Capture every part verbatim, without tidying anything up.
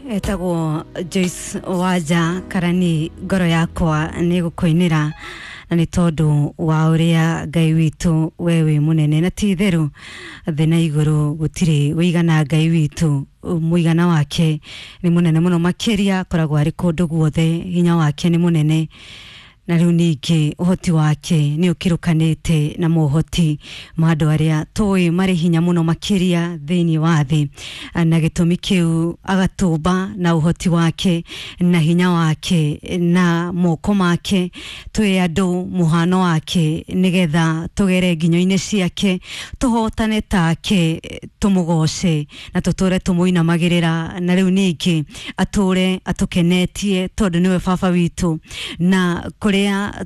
Etagwo Joyce Wanja Karani, ngoro yakwa nĩ gũkũinĩra na nĩ tondũ wa ũrĩa Ngai witũ we wĩ mũnene, na ti itherũ thĩ na igũrũ gũtirĩ wĩigana Ngai witũ. Mũigana wake nĩ mũnene mũno makĩria, akoragwo arĩ kũndũ guothe, hinya wake nĩ mũnene, na rĩu ningĩ ũhoti wake nĩ ũkĩrũkanĩte na mohoti ma andũ arĩa tũĩ marĩ hinya mũno makĩria thĩinĩ wa thĩ, na gĩtũmi kĩu agatũmba na ũhoti wake na hinya wake na moko make twĩ andũ mũhano wake, nĩgetha tũgere nginyo-inĩ ciake, tũhotane take, tũmũgoce na tũtũre tũmũinamagĩrĩra, na rĩu ningĩ atũre atũkenetie tondũ nĩwe baba witũ, na kũrĩa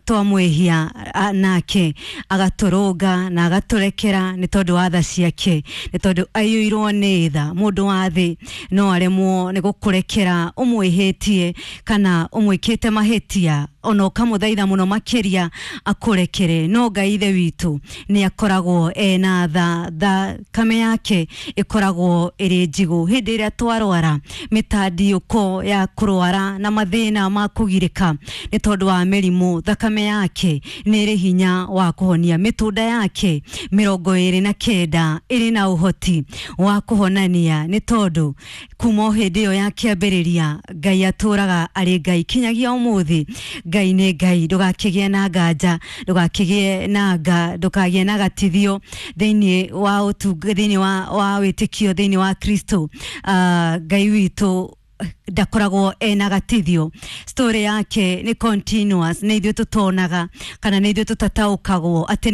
twamwĩhia nake agatũrũnga na agatũrekera nĩ tondũ wa tha ciake, nĩ tondũ aiyũirwo nĩ tha. Mũndũ wa thĩ no aremwo nĩ gũkũrekera ũmwĩhĩtie kana ũmwĩkĩte mahĩtia, ona ũkamũthaitha mũno makĩria akũrekere, no Ngai ithe witũ nĩ akoragwo ena tha. Thakame yake ĩkoragwo ĩrĩ njigũ. Hĩndĩ ĩrĩa twarwara mĩtandiũko ya kũrwara na mathĩna ma kũgirĩka nĩ tondũ wa mĩrimũ, thakame yake nĩ ĩrĩ hinya wa kũhonia. Mĩtũnda yake mĩrongo ĩrĩ na kenda ĩrĩ na ũhoti wa kũhonania, nĩ tondũ kuma o hĩndĩ ĩyo ya kĩambĩrĩria Ngai atũraga arĩ Ngai kinyagia ũmũthĩ. Ngai nĩ Ngai, ndũgakĩgĩe na nganja, ndũgakĩgĩe na nga, ndũkagĩe na gatithio thĩinĩ wa ũtunga, thĩinĩ wa, wa wĩtĩkio thĩinĩ wa Kristo. uh, Ngai witũ ndakoragwo ena gatithio, story yake nĩ continuous, nĩ ithuĩ tũtonaga kana nĩ ithuĩ tũtataũkagwo atĩ